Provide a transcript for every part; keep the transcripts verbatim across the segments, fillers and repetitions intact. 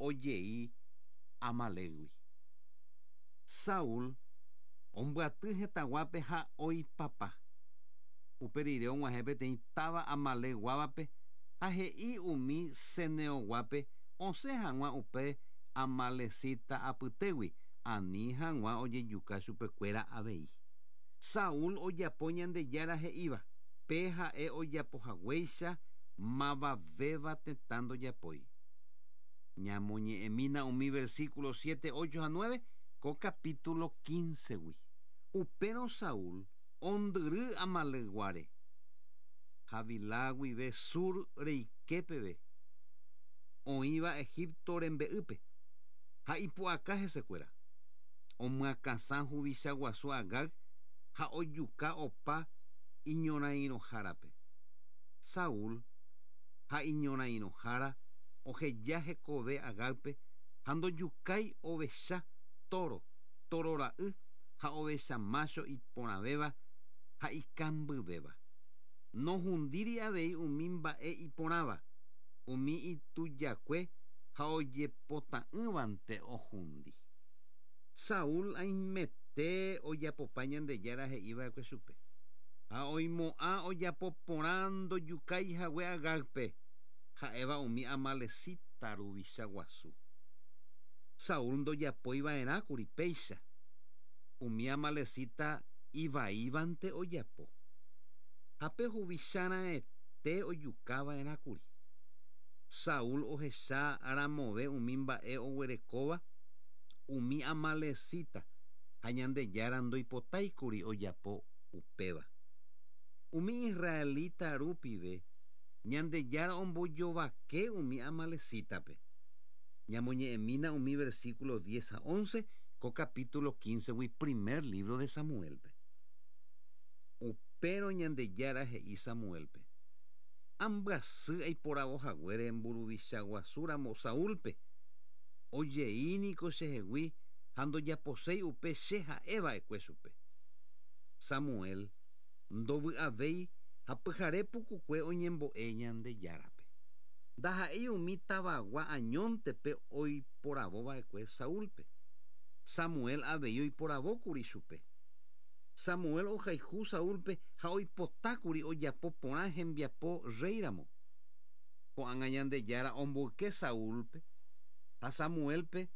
ojei Amalékgui. Saúl ombyaty hetãguápe ha oipapa. Upe rire og̃uahẽ peteĩ táva Amalekguávape ha he'i umi ceneoguápe osẽ hag̃ua upe amalecita apytégui ani hag̃ua ojejuka chupekuéra avei. Saúl ojapo Ñandejára he'íva pe ha'e ojapohaguéicha mavavéva tetã ndojapói. Ñamoñe'ẽmína umi versículo siete, ocho ha nueve ko capítulo quince-gui. Upérõ Saúl ondyry Amalekguáre. Havilá guive Sur reike peve. Oĩva Egipto rembe'ýpe ha ipu'aka hesekuéra. Omyakãsã huvicha guasu Agag ha ojuka opa iñorairõhárape. Saúl ha iñorairõhára oheja hekove Agágpe ha ndojukái ovecha toro, toro ra'y ha ovecha macho iporãvéva ha ikambyvéva. Nohundíri avei umi mba'e iporãva, umi itujakue ha ojepota'ỹvante ohundi. Saúl aimete ojapopa Ñandejára he'iva'ekue chupe. Ha oimo'ã ojapo porã ndojukái hague Agágpe ha'éva umi amalecita ruvicha guasu. Saúl ndojapoiva'erãkuri péicha. Umi amalecita ivaívante ojapo. Ha pe huvicharãete ojukava'erãkuri. Saúl ohecha ramove umi mba'e oguerekóva umi amalecita ha Ñandejára ndoipotáikuri ojapo upéva. Umi israelita rupive Ñandejára ombojovake umi amalecitape. Ñamoñe'ẽmína umi versículo diez ha once ko capítulo quince-gui primer libro de Samuelpe. Upérõ Ñandejára he'i Samuelpe. Ambyasy aiporavohaguére mburuvicha guasúramo Saúlpe. Ojeíniko chehegui ha ndojaposéi upe che ha'eva'ekue chupe. Samuel ndovy'avéi ha pyhare pukukue oñembo'e Ñandejárape. Ndaha'éi umi tavagua añóntepe oiporavova'ekue Saúlpe. Samuel avei oiporavókuri chupe. Samuel ohayhu Saúlpe ha oipotákuri ojapo porã hembiapo réiramo. Ko'ág̃a Ñandejára omboyke Saúlpe ha Samuelpe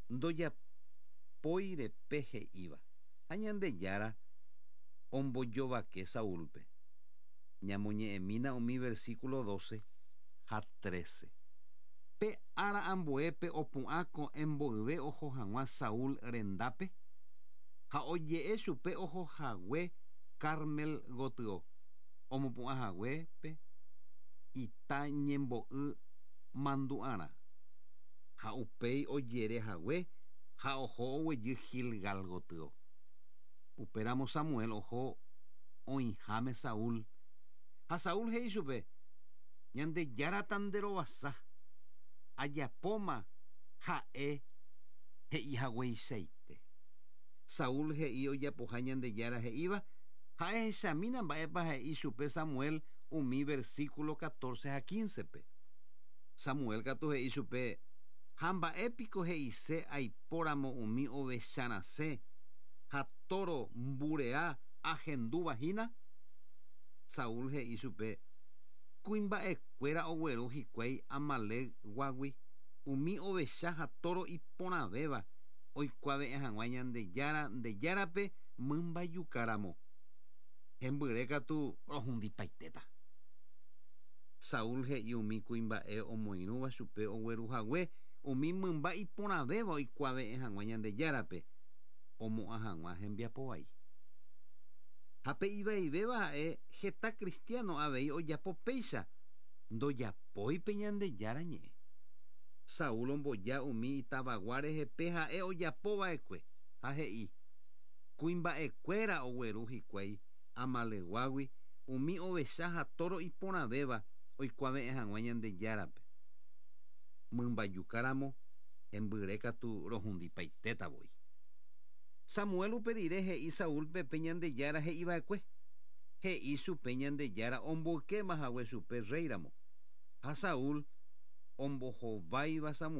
ndojapóirepe he'íva. Ha Ñandejára ombojovake Saúlpe. Ñamoñe'ẽmína umi versículo doce ha trece. Pe ára ambuépe opu'ã ko'ẽ mboyve oho hag̃ua Saúl rendápe ha oje'e chupe ohohague Carmel gotyo omopu'ãhaguépe ita ñembo'y mandu'arã ha upéi ojerehague ha oho oguejy Gilgal gotyo. Upéramo Samuel oho oĩháme Saúl ha Saúl he'i chupe Ñandejára tanderovasa ajapóma ha'e he'ihagueichaite. Saúl he'i ojapoha Ñandejára he'íva ha ehechamína mba'épa he'i chupe Samuel umi versículo catorce ha quince-pe. Samuel katu he'i chupe ha mba'épiko he'ise aipóramo umi ovecharasẽ ha toro mburea ahendúva hína. Saúl he'i chupe kuimba'ekuéra ogueru hikuái Amalekguágui umi ovecha ha toro iporãvéva oikuave'ẽ hag̃ua Ñandejára Ndejárape mymbajukáramo. Hembyre katu rohundipaitéta. Saúl he'i umi kuimba'e omoirũva chupe ogueruhague umi mymba iporãvéva oikuave'ẽ hag̃ua Ñandejárape omo'ã hag̃ua hembiapo vai. Ha pe ivaivéva ha'e heta cristiano avei ojapo péicha ndojapói pe Ñandejára ñe'ẽ. Saúl omboja umi itavagua rehe ha'e ojapova'ekue ha he'i kuimba'ekuéra ogueru hikuái Amalekguágui umi ovecha ha toro iporãvéva oikuave'ẽ hag̃ua Ñandejárape. Mymbajukáramo hembyre katu rohundipaitéta voi. Samuel upe rire he'i Saúlpe pe Ñandejára he'iva'ekue. He'i chupe Ñandejára omboykéma hague chupe réiramo. Ha Saúl ombohováiva Samuel